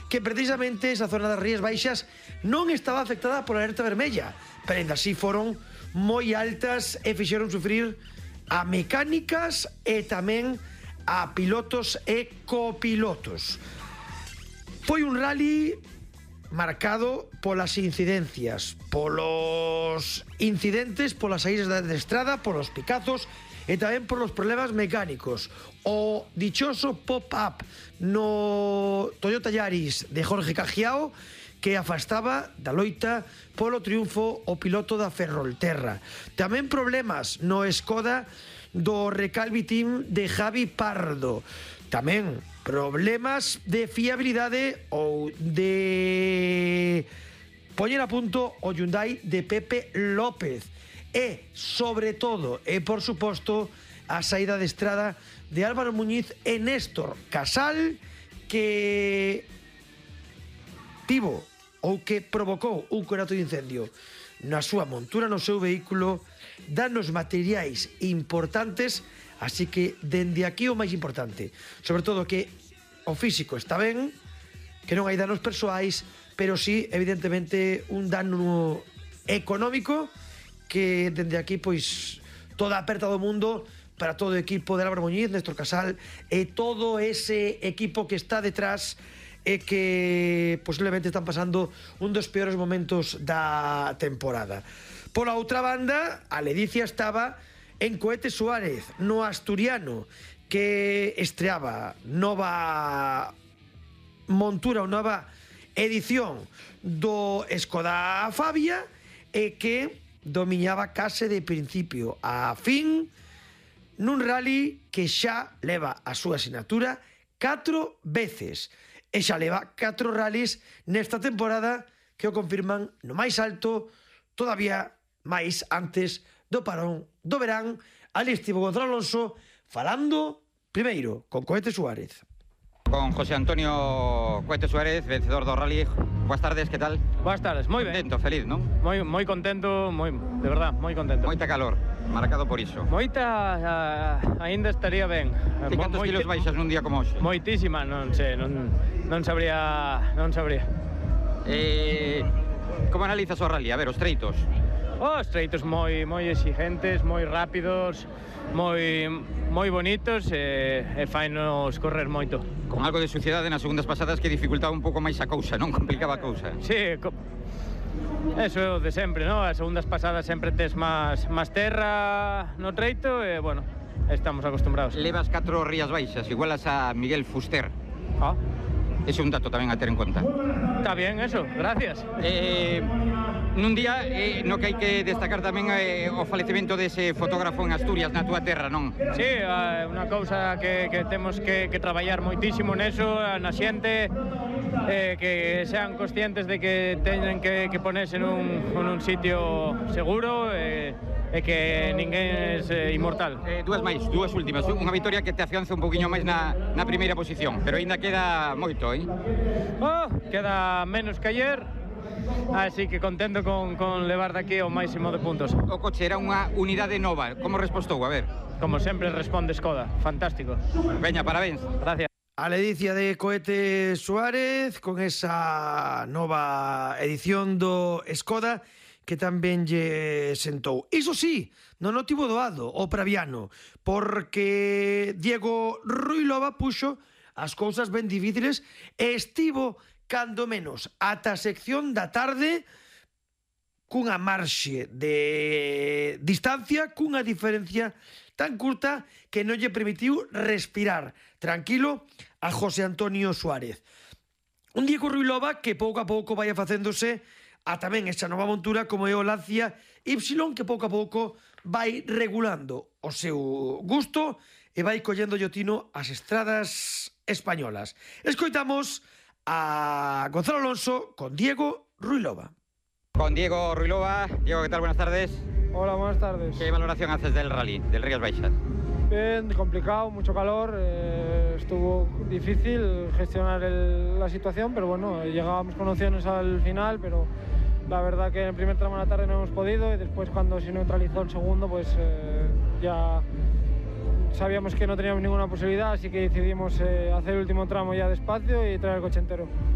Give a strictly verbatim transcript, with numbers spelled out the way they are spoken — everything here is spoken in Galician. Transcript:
que precisamente esa zona das Rías Baixas non estaba afectada pola alerta vermella, pero ainda así foron moi altas e fixeron sufrir a mecánicas e tamén a pilotos e copilotos. Foi un rally marcado polas incidencias, polos incidentes, polas saídas de estrada, polos picazos e tamén polos problemas mecánicos. O dichoso pop-up no Toyota Yaris de Jorge Cajiao que afastaba da loita polo triunfo o piloto da Ferrolterra. Tamén problemas no Skoda do Recalvi Team de Javi Pardo. Tamén problemas de fiabilidade ou de poñer a punto o Hyundai de Pepe López. E, sobre todo, e por suposto, a saída de estrada de Álvaro Muñiz e Néstor Casal, que tivo ou que provocou un conato de incendio na súa montura, no seu vehículo, danos materiais importantes. Así que, dende aquí o máis importante, sobre todo que o físico está ben, que non hai danos persoais, pero sí, evidentemente, un dano económico que dende aquí, pois, toda a aperta do mundo para todo o equipo de Álvaro Muñiz, Néstor Casal e todo ese equipo que está detrás e que posiblemente están pasando un dos peores momentos da temporada. Pola outra banda, a ledicia estaba en Cohete Suárez, no asturiano, que estreaba nova montura ou nova edición do Skoda Fabia e que dominaba case de principio a fin nun rally que xa leva a súa asignatura catro veces e xa leva catro rallies nesta temporada que o confirman no máis alto, todavía máis antes do parón do verán. Ali estivo Gonzalo Alonso falando primeiro con Cohete Suárez. Con José Antonio Cohete Suárez, vencedor do rally. Buenas tardes, que tal? Buenas tardes, moi ben. Contento, feliz, non? Moi moi contento, moi, de verdad, moi contento. Moita calor, marcado por iso. Moita, uh, aínda estaría ben. Ti cantos kilos baixas nun día como hoxe? Moitísima, non sei, non non sabría, non sabría. Eh, como analizas o rally? A ver, os treitos. Os treitos moi moi exigentes, moi rápidos, moi moi bonitos e, e fainos correr moito. Con algo de suciedade nas segundas pasadas que dificultaba un pouco máis a cousa, non? Complicaba a cousa. Sí, co... eso de sempre, non? As segundas pasadas sempre tes máis máis terra no treito e, bueno, estamos acostumbrados. Levas catro Rías Baixas, igualas a Miguel Fuster. Ah. Ese é un dato tamén a ter en conta. Está bien eso, gracias. Eh, nun día eh, no que hai que destacar tamén eh, o falecemento dese fotógrafo en Asturias, na túa terra, non? Sí, é unha cousa que, que temos que, que traballar moitísimo neso, na xente, eh, que sean conscientes de que teñen que, que ponerse nun, nun sitio seguro e, e que ninguén é eh, inmortal. Eh, dúas máis, dúas últimas. Unha vitoria que te afianza un poquinho máis na, na primeira posición, pero aínda queda moito, eh? Oh, queda menos que ayer, así que contento con, con levar daqui o máximo de puntos. O coche era unha unidade nova, como respostou? A ver. Como sempre responde Skoda, fantástico. Veña, parabéns. Gracias. A ledicia de Cohete Suárez con esa nova edición do Skoda que tamén lle sentou. Iso sí, non o tivo doado o praviano, porque Diego Ruilova puxo as cousas ben difíciles e estivo, cando menos, ata a sección da tarde cunha marxe de distancia, cunha diferencia tan curta que non lle permitiu respirar tranquilo a José Antonio Suárez. Un Diego Ruilova que pouco a pouco vai facéndose a tamén esa nova montura como é o Lancia Y, que pouco a pouco vai regulando o seu gusto e vai collendo llotino as estradas españolas. Escoitamos a Gonzalo Alonso con Diego Ruilova. Con Diego Ruilova. Diego, ¿qué tal? Buenas tardes. Hola, buenas tardes. ¿Qué valoración haces del rally, del Rías Baixas? Bien, complicado, mucho calor, eh, estuvo difícil gestionar el, la situación, pero bueno, llegábamos con opciones al final, pero la verdad que en el primer tramo de la tarde no hemos podido y después cuando se neutralizó el segundo, pues eh, ya sabíamos que no teníamos ninguna posibilidad, así que decidimos eh, hacer el último tramo ya despacio y traer el coche entero.